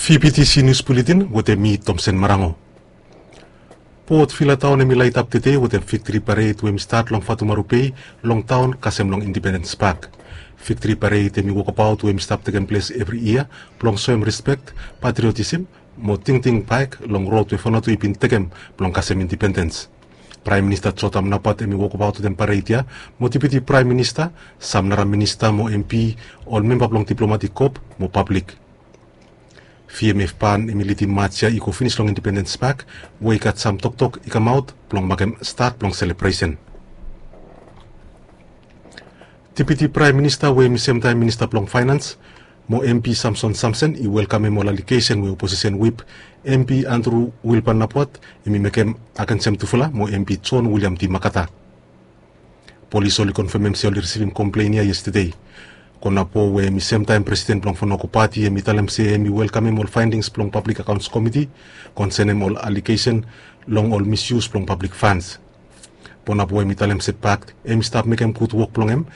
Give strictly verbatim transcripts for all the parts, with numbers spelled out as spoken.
P P T C News Bulletin wetem mi Tomsen Marango. Port Vila taon hemi laetap tede wetem Victory Parade we hemi stat long Fatumaru Bay long taon kasem long Independence Park. Victory Parade hemi wokabaot we hemi stap tekem ples evri yia blong soem rispek, patriotism mo tingting baek long rod we Vanuatu i bin tekem blong kasem independens. Praem Minista Jotam Napat hemi wokabaot wetem pared ya mo Deputi Praem Minista, sam nara minista mo M P, ol memba blong diplomatik kop mo pablik. V M F ban hemi lidim maj ya i go finis long Independens Pak we i gat sam toktok i kamaot blong makem stat blong selebresen. Deputi Praem Minista we hemi semtaem Minista blong Faenans mo M P Samson Samsen i welkamem ol alegesen we oposisen wip M P Andrew Wilpan Napat hemi mekem agensem tufala mo M P John William D Makata. Polis oli konfemem se oli risivim komplen ya yestede. Konapo we hemi semtaem presiden blong Vanuatu Pati hemi talem se hemi welkamem ol faendings blong Pablik Akaons Komiti konsenem ol alegesen long ol misyus blong pablik fans. Konapo hemi talem se Pak hemi stap mekem gud wok blong hem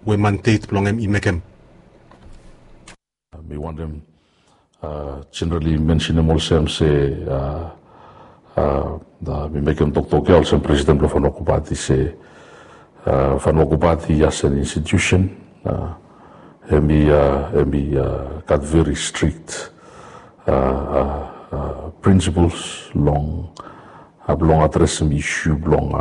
we mandet blong hem i mekem. Mi wantem jenerali mensenem olsem se mi mekem toktok ya olsem presiden blong Vanuatu Pati se Vanuatu Pati as an institusen hemi hemi gat veri strik prinsipels long blong adresem isu blong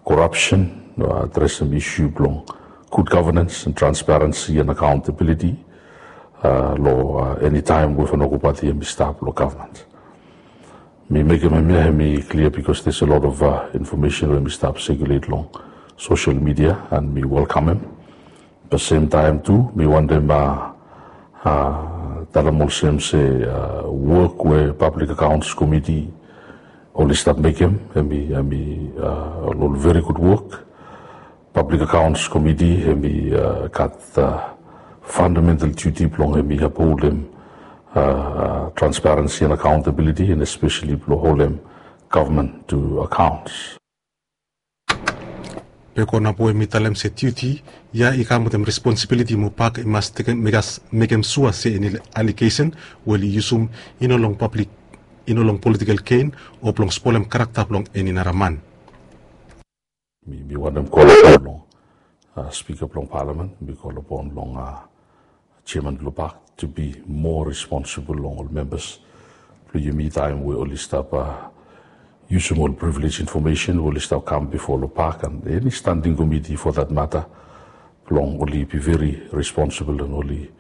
korapsen, adresem isu blong gud gavenens and transparensi and akaontabiliti long enitaem we Vanuatu Pati hemi stap long gavman. Mi mekem hemia hemi klia bikos there's a lot of infomesen we hemi stap sekulet long sosel midia and mi welkamem. Be semtaem tu mi wantem talem olsem se wok we Pablik Akaons Komiti oli stap mekem hemi hemi ol veri gud wok. Pablik Akaons Komiti hemi gat fandamental duti blong hemi apholdem transparensi and akaontabiliti and espeseli blong holem gavman tu akaons. Be Konapo hemi talem se duti ya i kam wetem responsibiliti mo Pak i mas mekem sua se eni alegesen we oli yusum i no long pablik, i no long politikel gen o blong spolem karakta blong eni nara man. Mi mi wantem kolapon long spika blong palamen, mi kolapon long jeaman blong Pak tu bi moa responsibol long ol membas blong yumi taem we oli stap yusum ol privilej infomesen we oli stap kam bifo long Pak and eni standing komiti fo dat mata blong oli bi veri responsibol and oli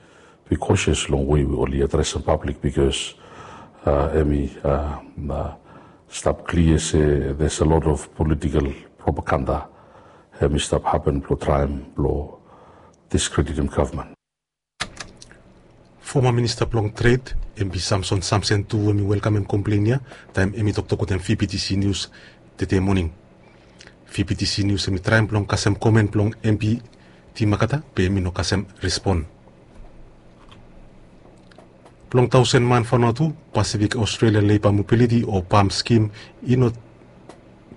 bi kosias long we we oli adresem pablik bikos hemi stap klia se there's a lot of political propaganda hemi stap hapen blong traem blong diskreditem gavman. Foma Minista blong Tred, M P Samson Samsen tu hemi welkamem komplen ya taem hemi toktok wetem V P T C News tede moning. V P T C News hemi traem blong kasem komen blong M P Timakata be hemi no kasem respon. Blong taosen man Vanuatu, Pasifik Australia Leiba Mobiliti o PALM skim i no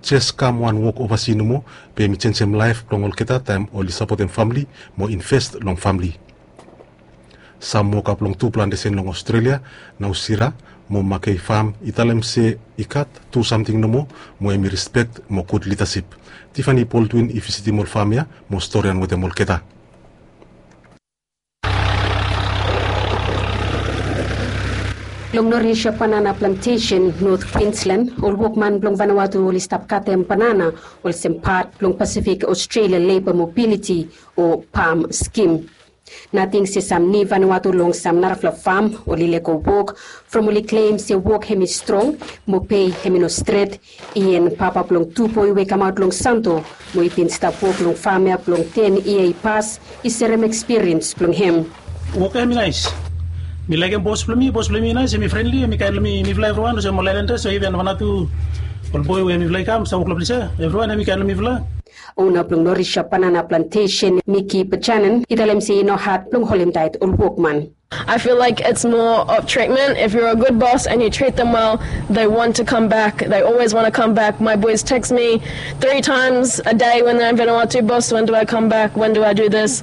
jes kam wan wok ovasi nomo, be hemi jenjem laef blong olgeta taem oli sapotem famle mo inves long famle. Sam woka blong tu plantesen long Australia, Nausira mo Makei Fam i talem se i gat tu samting nomo mo hemi rispek mo gud lidasip. Tiffany Baldwin i visitim ol fam ya mo storian wetem olgeta. Long Norisha Banana Plantesen, North Queensland, ol wokman blong Vanuatu oli stap katem banana olsem pat blong Pasifik Australia Leiba Mobiliti o PALM skim. Nating se sam ni Vanuatu long sam narafala fam oli lego wok from oli klem se wok hemi strong mo pei hemi no stret. Ian, papa blong tu boe we i kamaot long Santo mo i bin stap wok long fam ya blong ten yia i pas, i serem ekspiriens blong hem. Wok ya hemi naes. Mi laekem bos blong mi, bos blong mi i naes, hemi frenli, hemi kaen long mi, mifala evriwan olsem ol aelandas o iven Vanuatu, ol boe we mifala i kam stap wok long ples ya, evriwan hemi kaen long mifala. Ona blong Norisha Banana Plantesen, Miki Bajanen, i talem se i no had blong holem taet ol wokman. I feel like it's more of treatment. If you're a good boss and you treat them well, they want to come back. They always want to come back. My boys text me three times a day when they're in Vanuatu, "Boss, when do I come back? When do I do this?"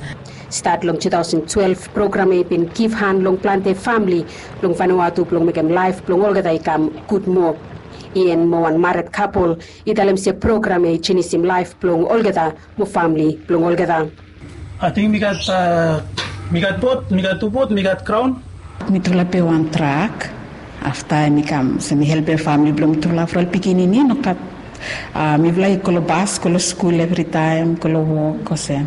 Stat long tu taosen twelef, program ya i bin givhan long plante famle long Vanuatu blong mekem laef blong olgeta i kam gud moa. Ian mo wan mared kapol i talem se program ya i jenisim laef blong olgeta mo famle blong olgeta. Ating mi gat, mi gat bot, mi gat tu bot, mi gat graon. Mitufala pe wan trak. Afta mi kam se mi helpem famle blong mitufala from ol pikinini nogat. Mifala i go long bas, go long skul evritaem, go long wok olsem.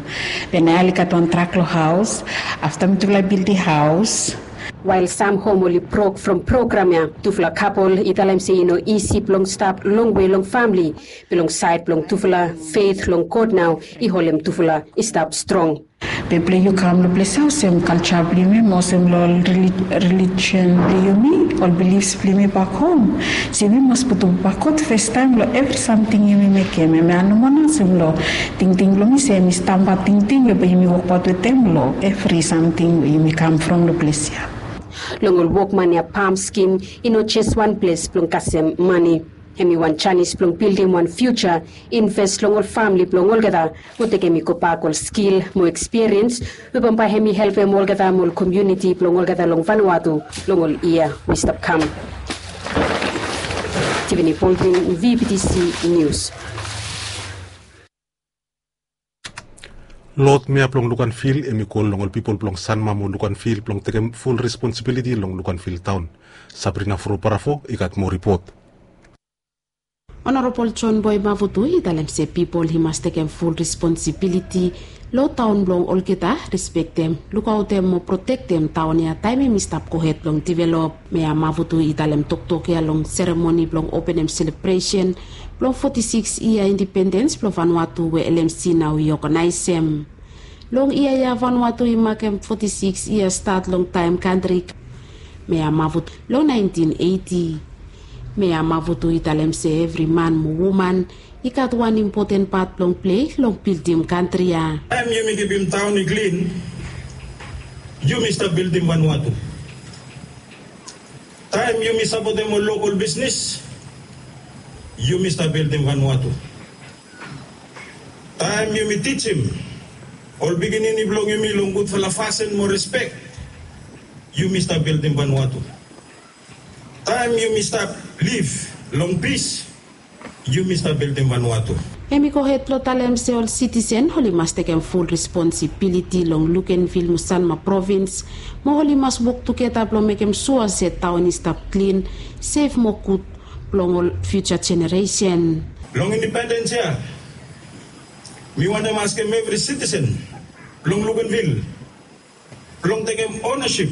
Be nao oli gat wan trak long haos. Afta mitufala i bildim haos. Wael sam hom oli brok from program ya, tufala kapol i talem se i no isi blong stap longwe long famle. Be long saed blong tufala, feit long God nao i holem tufala i stap strong. Be blong yu kam long ples ya olsem kalja blong yumi mo olsem long rilijen blong yumi, ol bilifs blong yumi bak hom. Se yumi mas putum bak God fastaem long evri samting yumi mekem. Hemia nomo nao olsem long tingting blong mi se hemi stamba tingting we bae yumi wokbaot wetem long evri samting we yumi kam from long ples ya. Long ol wokman ya, pam skim i no jes wan ples blong kasem mane. Hemi wan janis blong bildim wan fiuja, inves long ol famle blong olgeta, mo tekem i gobak ol skil mo ekspiriens we bambae hemi helpem olgeta mo ol komuniti blong olgeta long Vanuatu long ol yia we i stap kam. Tiffany Baldwin, V B T C News. Lod Mea blong Luganville hemi kol long ol pipol blong Sanma mo Luganville blong tekem ful responsibiliti long Luganville taon. Sabrina Furo Barafo i gat moa ripot. Honorable John Boy Mavutu i talem se pipol i mas tekem ful responsibiliti long taon blong olgeta, respektem, lukaotem mo protektem taon ya taem hemi stap gohed blong divelop. Mea Mavutu i talem toktok ya long seremoni blong openem selebresen blong foti sikis yia indipendens blong Vanuatu we L M C nao i oganaesem. Long yia ya Vanuatu i makem foti sikis yia stat long taem kantri. Mea Mavutu long naentin eiti. Mea Mavutu i talem se evri man mo woman i gat wan impoten pat blong plei long bildim kantri ya. Taem yumi kipim taon i klin, yumi stap bildim Vanuatu. Taem yumi sapotem ol lokol bisnis, yumi stap bildim Vanuatu. Taem yumi tijim ol pikinini blong yumi long gudfala fasin mo respek, yumi stap bildim Vanuatu. Taem yumi stap liv long pis, yumi stap bildim Vanuatu. Hemi gohed blong talem se ol sitisen oli mas tekem ful responsibiliti long Luganville mo Sanma provins, mo oli mas wok tugeta blong mekem sua se taon i stap klin, sef mo gud blong ol fiuja jeneresen. Long indipendens ya, mi wantem askem evri sitisen blong Luganville blong tekem onesip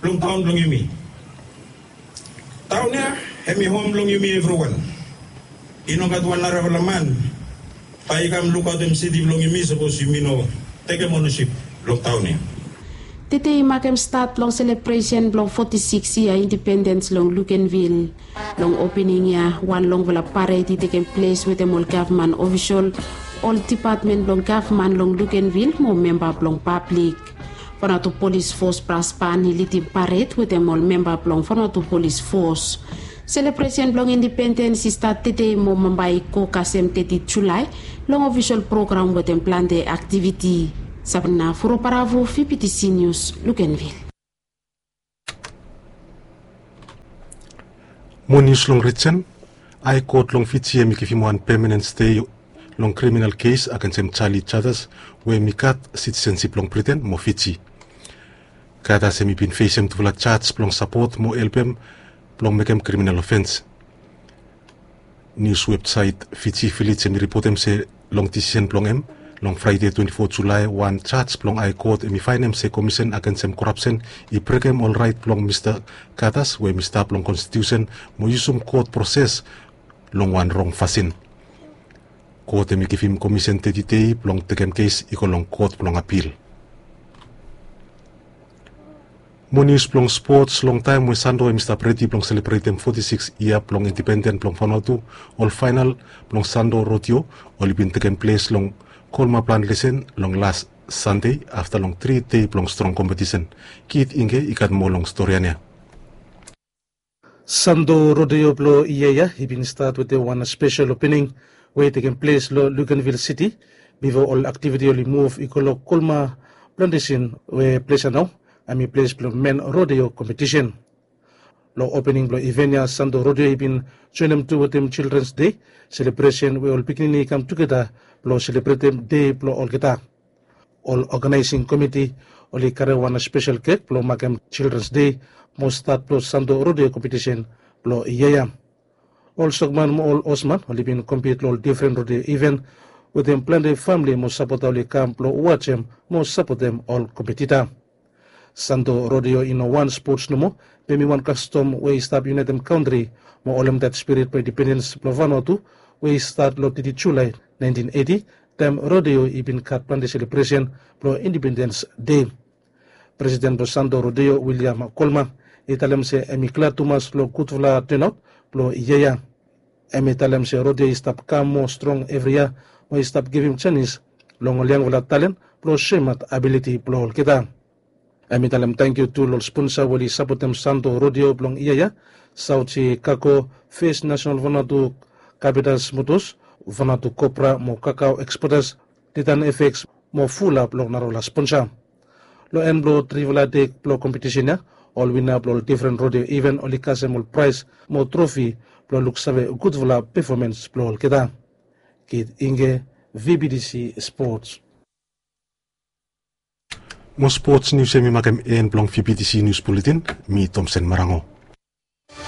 blong taon blong yumi. Taon ya hemi hom blong yumi evriwan. I no gat wan narafala man bae i kam lukaotem siti blong yumi sapos yumi no tekem onesip blong taon ya. Tede i makem stat blong selebresen blong foti sikis yia indipendens long Luganville. Long opening ya, wan longfala pared i tekem ples wetem ol gavman ofisol, ol dipatmen blong gavman long Luganville mo memba blong pablik. Vanuatu Polis Fos Bras Ban i lidim pared wetem ol memba blong Vanuatu Polis Fos. Selebresen blong indipendens i stat tede mo bambae i go kasem teti Julae long ofisol program wetem plante aktiviti. Sabrina Furo Barafo, V B T C News, Luganville. Moa nius long rijen. Hae Kot long Fiji hemi givim wan pemanen stei long kriminal kes agensem Charlie Chathas we hemi gat sitisensip blong Briten mo Fiji. Chathas hemi bin fesem tufala jaj blong sapot mo helpem blong mekem kriminal ofens. Nius websaet Fiji Village hemi ripotem se long disisen blong hem long Fraede twenti fo Julae, wan jaj blong Hae Kot hemi faenem se komisen agensem korapsen i brekem ol raet blong Mista Chathas we hemi stap long konstitiusen mo yusum kot proses long wan rong fasin. Kot hemi givim komisen teti dei blong tekem kes i go long kot blong apil. Moa nius blong spots. Longtaem we Sando hemi stap redi blong selebretem foti sikis yia blong indipenden blong Vanuatu, ol faenal blong Sando Rodeo oli bin tekem ples long Kolma Plan Lesen long las Sande afta long tri dei blong strong kompetisen. Kit Ingge i gat moa long storian ya. Sando Rodeo blong yia ya i bin stat wetem wan spesel opening we i tekem ples long Luganville Siti bifo ol aktiviti oli muv i go long Kolma Plante sin we ples ya nao hem i ples blong men rodeo kompetisen. Long opening blong iven ya, Santo Rodeo i bin joinim tu wetem Childrens Dei selebresen we ol pikinini i kam tugeta blong selebretem dei blong olgeta. Ol oganaesing komiti oli karem wan spesel kek blong makem Childrens Dei mo stat blong Santo Rodeo kompetisen blong yia ya. Ol sokman mo ol hosman oli bin kompit long ol difren rodeo iven wetem plante famili mo sapota oli kam blong wajem mo sapotem ol kompetita. Santo Rodeo i no wan spots nomo, be hem i wan kastom we i stap iunaitem kantri mo holem dat spirit blong indipendens blong Vanuatu we i stat long teti Julae naentin eiti, taem rodeo i bin gat plante selebresen blong Indipendens Dei. Presiden blong Santo Rodeo, William Colmer, i talem se hem i glad tumas long gudfala tonaot blong yia ya. Hem i talem se rodeo i stap kam moa strong evri yia mo i stap givim janis long ol yangfala talen blong soemaot abiliti blong olgeta. Hem i talem tangkiu tu long ol sponsa we oli sapotem Santo Rodeo blong yia ya, Sauti Kako, Fes Nasenal Vanuatu Kapitas Motos, Vanuatu Kopra mo Kakao Eksportas, Titan Efeks mo fulap long narafala sponsa. Long en blong trifala dei blong kompetisen ya, ol wina blong ol difren rodeo iven oli kasem ol praes mo trofi blong luksave gudfala pefomens blong olgeta. Kit Inge, VBTC Sports. Mo spots nius ya mi makem en blong VBTC Nius Buletin. Mi Tomsen Marango.